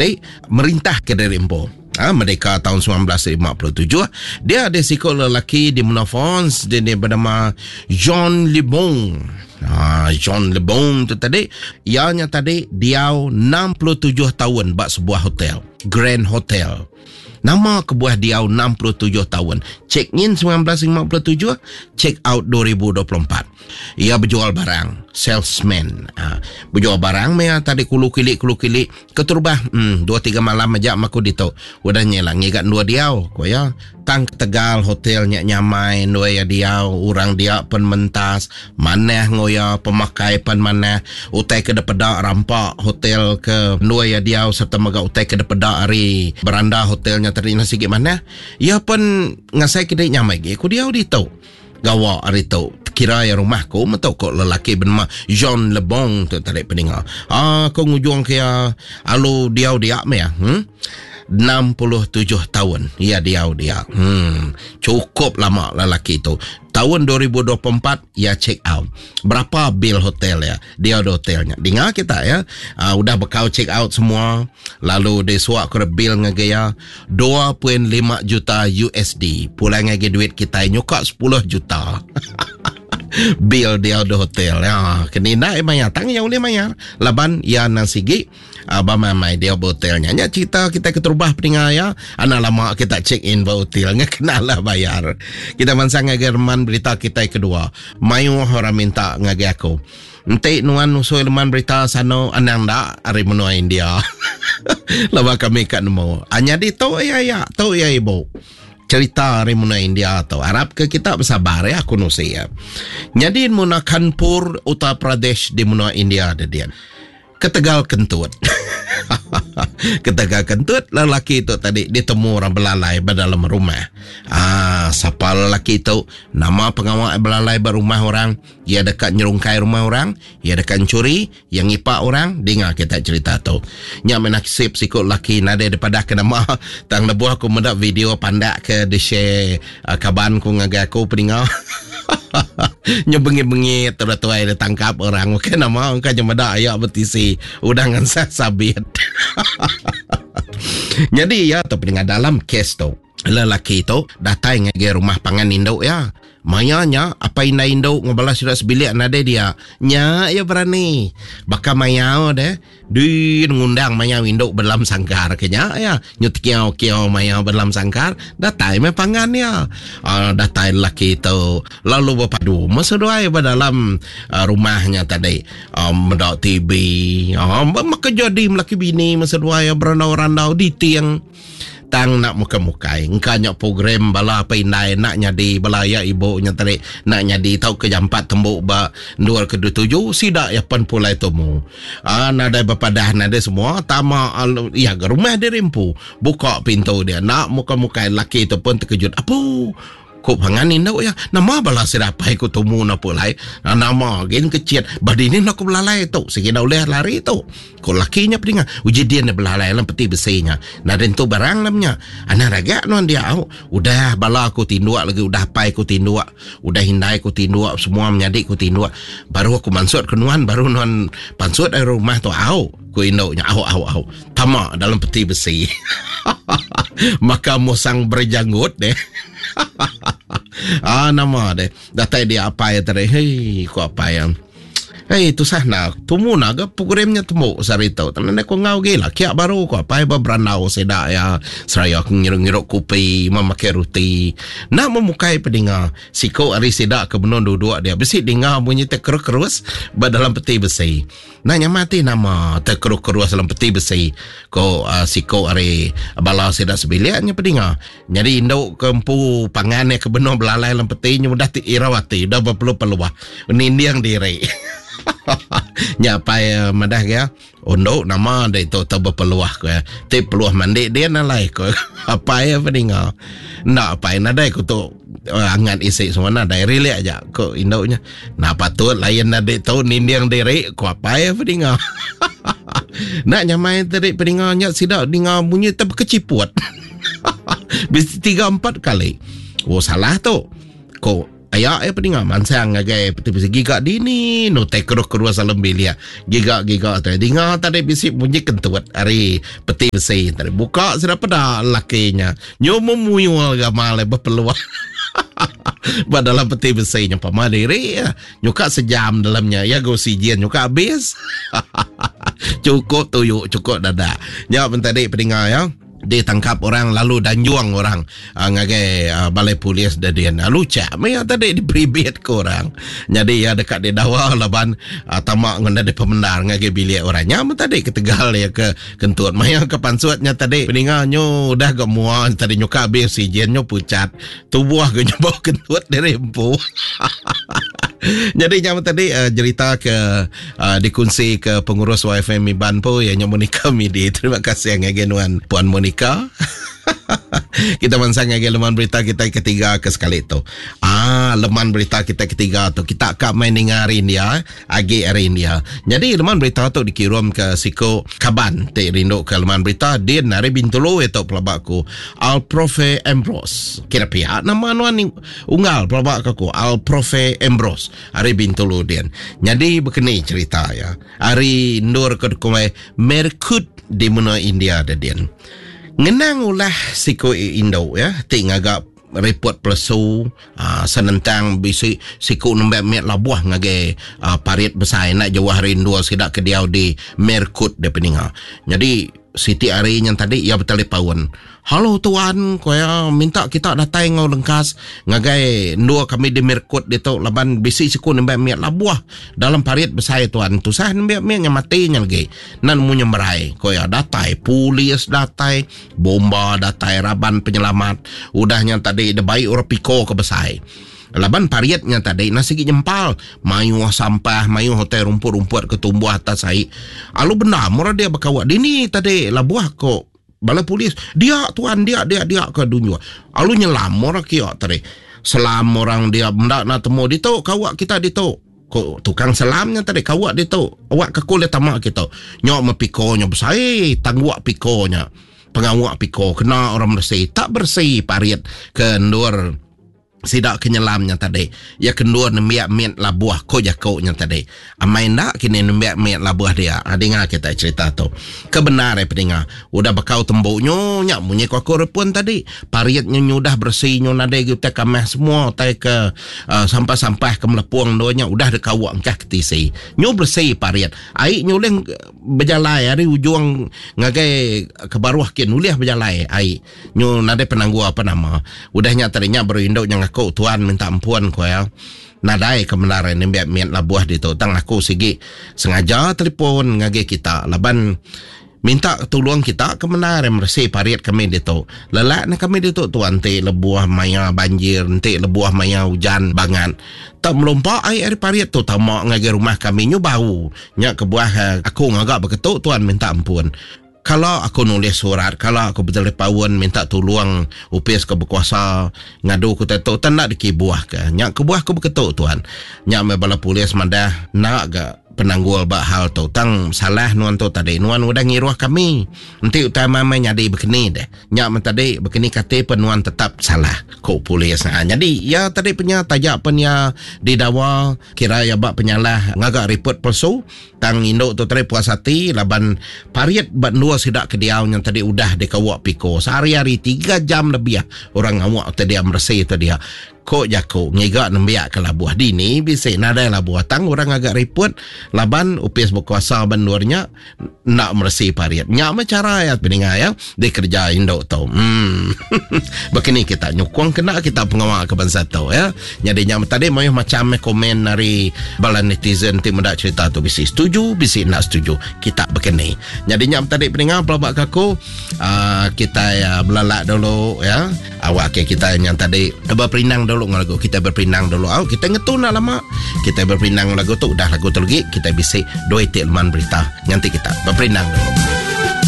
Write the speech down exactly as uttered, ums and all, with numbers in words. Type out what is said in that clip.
tadi merintah ke diri empu. Ha, merdeka tahun seribu sembilan ratus lima puluh tujuh, dia ada siku lelaki di menua France dia ni bernama Jean Lebon. Ha, Jean Lebon tu tadi ianya tadi diau enam puluh tujuh tahun ba sebuah hotel, Grand Hotel. Nama kebuah diau enam puluh tujuh tahun. Check in seribu sembilan ratus lima puluh tujuh, check out dua ribu dua puluh empat. Ia berjual barang, salesman. Ha, berjual barang meh tadi kulu kilik kulu kilik keterubah hmm, dua tiga malam aja maku ditu. Udah nyelang ngigat dua diau ko ya. Tang Tegal hotelnya nyamai dua ya diau, orang dia pen mentas, manah ngoya, pemakai pen manah, utai ke depeda rampak hotel ke dua ya diau serta mega utai ke depeda ari beranda hotelnya tadi nasi gik manah. Ia pen ngasai ke dik nyamai gi ku diau ditu. Gawa ari tu kira ya rumah ku metu ko lelaki bernama Jean Lebon tu tadi peninga. Ah ko ngujung ke ya alu diau dia me ya. Hmm? enam puluh tujuh tahun ia diau dia. Hmm, cukup lama lelaki tu. Tahun dua ribu dua puluh empat ia check out. Berapa bil hotel ya? Dia di hotelnya. Dengar kita ya. Uh, udah bekau check out semua. Lalu dia suak ke bil ngagai ya dua perpuluhan lima juta U S D. Pulang ngagai duit kita nyuka sepuluh juta. Bil dia di hotel ya. Kena nak bayar tang yang boleh bayar. Laban ya nasigi abang mamai dia hotelnya. Nya cerita kita keterubah peninga ya. Anak lama kita check in ba hotel nya kena lah bayar. Kita mansang ngagai reman berita kita kedua. Mayu orang minta ngagai aku. Enti nuan nusui leman berita sano anang dak ari menua India. Laba kami kat nemu. Anya di tu ya ya, tu ya ibu. Cerita ari menua India tu. Harap ke kita bersabar ya aku nusi ya. Jadi menua Kanpur, Uttar Pradesh di menua India dia dia. Ketegal kentut. Ketegal kentut lelaki tu tadi ditemu orang belalai ba dalam rumah. Ah, siapa lelaki tu? Nama pengawal belalai ba rumah orang, ia dekat nyerungkai rumah orang, ia dekat mencuri, ia ngipak orang. Dengar kita cerita tu. Nya menasib sikut lelaki nadai daripada ke nama. Tang lebuh aku mendak video pandak ke di share uh, kaban ku ngagai aku peninga. Nya bengi-bengi tu tuai dia tangkap orang. Bukan nama engkau je medak ayak bertisi udah ngansah sabit. Jadi ya tu peninga dalam kes tu lelaki tu datai ngagai rumah pangan induk ya. Mayanya apa indai induk ngobalas sudah sebilik nadai dia. Nya ya berani. Baka mayau deh di ngundang mayau induk berdalam sangkar kenya ya. Nyut kiau kiau mayau berdalam sangkar datai me pangan ya. Uh, datai lelaki tu lalu berpadu meseduai berdalam uh, rumahnya tadi. Uh, mendak T V. Uh, maka jadi melaki bini meseduai berandau-randau di tiang. Tang nak muka-mukai engka nyak program bala apa indai nak nyadi bala ya ibu nya tadi nak nyadi tau ke jam empat tembuk ba dua ke tujuh sidak ya pen pulai tomu. Ah nadai berpadah nadai semua tama ya ke rumah dia rempu buka pintu dia nak muka-mukai laki tu pun terkejut. Apa Kok pangan induk ya nama bala sirapai ku tomu na pulai nama gen kecil badi ni nak ku belalai tu sigi dah boleh lari tu. Ko lakinya pedinga uji dia nak belalai dalam peti besinya. Naden tu barang namanya. Anak ragak nuan dia au. Udah bala aku tinduk lagi udah pai aku tinduk, udah hindai aku tinduk semua menyadik aku tinduk. Baru aku mansut ke nuan baru nuan pansut dari rumah tu au. Ku induknya au au au. Tamak dalam peti besi. Maka musang berjanggut deh. Ah nama deh. Datai dia apa ya tadi. Hei ku apa yang Hei tusah nak tumu nak ke programnya temu sehari tu. Tenan aku ngau gila kiak baru ku apa berandau sedak ya. Seraya aku ngiruk-ngiruk kopi, memakai roti. Nak memukai pedinga siko hari sedak ke benon duduk dia. Besi dengar bunyi terkerus-kerus dalam peti besi. Nanya mati nama terkerus-kerus dalam peti besi. Ko uh, siko hari bala sedak sebiliknya pedinga. Jadi induk ke empu pangan ke benon belalai dalam peti nya udah ti irawati, udah berpeluh-peluh. Ninding diri. Nyapai madah ya. Ondok nama dia tu tu berpeluah ko ya. Ti peluah mandi dia nalai ko. Apa ya peninga. Nak apa nadai ko tu angan isi semua nadai relax aja ko induknya. Nak patut lain nadai tu ninding diri ko apa ya peninga. Nak nyamai tadi peninga nya sidak dengar bunyi terkeciput. Bis tiga empat kali. Oh salah tu. Ko Ayak ya peninga mansang ngagai peti besi giga dini no tai keruh-keruh salam bilik. Giga-giga tai dinga tadi bisi bunyi kentut ari peti besi tadi buka sudah peda lakinya. Nyu memuyul gamal berpeluang. Ba dalam peti besi nya pama diri ya. Nyuka sejam dalamnya ya go oksigen nyuka habis. Cukup tuyuk cukup dadak. Nya pun tadi peninga ya. Ditangkap orang lalu danjuang orang uh, ngagai uh, balai polis dadin. Lalu cak maya tadi diperibit ke orang. Jadi ya dekat di dawa laban uh, tamak ngena di pemendar ngagai bilik orang. Nya tadi ketegal ya ke kentut maya ke pansutnya tadi peninga nyu udah gak mua tadi nyuka habis oksigen nyu pucat. Tubuh ke nyoba kentut dari empu. Jadi jam tadi uh, cerita ke uh, dikunci ke pengurus Y F M Iban po ya Monica Midi. Terima kasih ngagai nuan Puan Monica. Kita mansang ngagai leman berita kita ketiga ke sekali tu. Ah, leman berita kita ketiga tu kita kak main dengar hari India, agi hari India. Jadi leman berita tu dikirim ke siko kaban ti rindu ke leman berita din hari Bintulu itu pelabakku Al Profe Ambrose. Kira pihak nama nuan ni unggal pelabak aku Al Profe Ambrose hari Bintulu din. Jadi begini cerita ya. Hari ndur ke kumai Merkut di menua India din. Ngenang ulah siko Indo ya, ti ngagak report pelesu uh, senentang bisi siku nembak miat labuah ngagai uh, parit besar nak jauh hari dua sidak ke diau di Merkut de peninga. Jadi Siti Ari yang tadi ia bertelepaun. Halo tuan, koya minta kita datang ngau lengkas ngagai dua kami di Merkut di tu laban bisi siku nembak miat labuah dalam parit besar tuan. Tusah nembak miat nya mati nya lagi. Nan mu nyemerai. Koya datai polis datai, bomba datai, raban penyelamat. Udahnya tadi debai orang piko ke besar. Laban pariatnya tadi nasi gigi nyempal mayuh sampah mayuh hotel rumput-rumput ketumbuh atas air. Alu benar murah dia berkawat dini tadi labuah kok bala polis dia tuan dia dia dia ke dunia. Alu nyelam murah kiak tadi. Selam orang dia benda nak temu ditu kawak kita ditu. Kok tukang selamnya tadi kawak ditu. Awak kekul dia tamak kita. Nyok mepikonya besar tangguak pikonya. Pengawak piko kena orang bersih tak bersih pariat ke ndur sidak kenyelamnya tadi. Ya kendua nembiak miat labuah ko jakoknya tadi. Amai nak kini nembiak miat labuah dia. Ha, dengar kita cerita tu. Kebenar eh pendengar. Udah bekau temboknya nyak munyi ko aku repun tadi. Pariatnya nyudah bersih nyu nadai kita kamah semua tai ke uh, sampah-sampah ke melepuang doanya udah dekawak engkah ke tisi. Nyu bersih pariat. Ai nyu leng berjalai hari ujung ngagai ke baruah kin uliah berjalai ai. Nyu nadai penanggu apa nama. Udahnya tadinya baru induk yang aku tuan minta ampun ko ya. Nadai kebenaran nembiak miat labuah ditu tang aku sigi sengaja telefon ngagai kita laban minta tolong kita kebenaran bersih parit kami ditu. Lelak na kami ditu tuan ti lebuah maya banjir, ti lebuah maya hujan bangat. Tak melompak air air parit tu tamak ngagai rumah kami nyu bau. Nya kebuah aku ngagak beketuk tuan minta ampun. Kalau aku nulis surat, kalau aku bertelepaun minta tolong upis ke berkuasa ngadu ku tetuk tak nak dikibuah ke. Nyak kebuah aku berketuk tuan. Nyak me bala polis madah nak ga penanggul bak hal tu. Tang salah nuan tu tadi. Nuan udah ngiruah kami. Nanti utama mai nyadi bekeni deh. Nyak men tadi bekeni kate penuan tetap salah. Kok polis. Ha, jadi ya tadi punya tajak punya didawa kira ya bak penyalah ngagak report palsu. Tang induk tu tadi puas hati laban pariat bak dua sidak ke diau yang tadi udah dikawak piko. Sehari-hari tiga jam lebih orang ngawak tadi bersih tu dia. Kok jako ngigak nembiak ke labuah dini bisik nadai labuah tang orang agak report laban upis berkuasa bandurnya nak bersih pariat. Nyak macam cara ya pendengar ya dikerja induk tu. Hmm. Begini kita nyukong kena kita pengawal ke bangsa tu ya. Jadi nyak tadi mayuh macam komen dari bala netizen ti mendak cerita tu bisik setuju bisik nak setuju. Kita begini. Jadi nyak tadi pendengar pelabak kaku uh, kita ya belalak dulu ya. Awak ke kita yang tadi berperinang dulu lagu kita berpinang dulu. Oh, kita ngetun nak lama. Kita berpinang lagu tu udah lagu tu lagi kita bisik dua itik leman berita. Nanti kita berpinang dulu.